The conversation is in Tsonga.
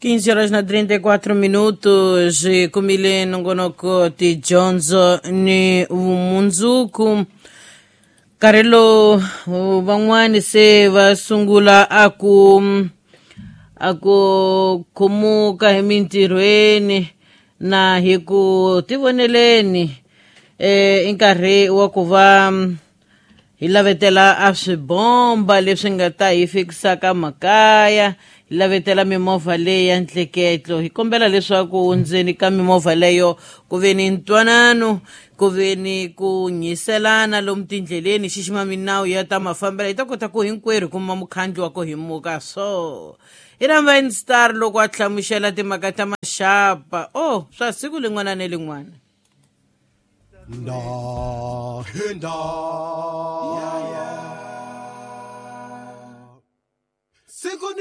15 horas na 34 minutos kumile nongonoko tidyondzo ni vumundzuku. Nkarhi lowu van'wani se va sungula a ku khumuka hi mintirhweni na hi ku tivoneleni, i nkarhi wa ku va hi lavetela a swibomba leswi nga ta hi fikisaka makaya, hi lavetela mimovha leyi ya ntleketlo. Hi kombela leswaku ndzeni ka mimovha leyo ku ve ni ntwanano, ku ve ni ku nyiselana lomu tindleleni, xixima minawu ya ta mafambelo, hi ta kota ku hinkwerhu kuma mukhandlu wa ku himuka. So hi rhamba Star loko a hlamusela timhaka ta maxapa o swa siku lin'wana ni lin'wana. Nda hinda. Siku ni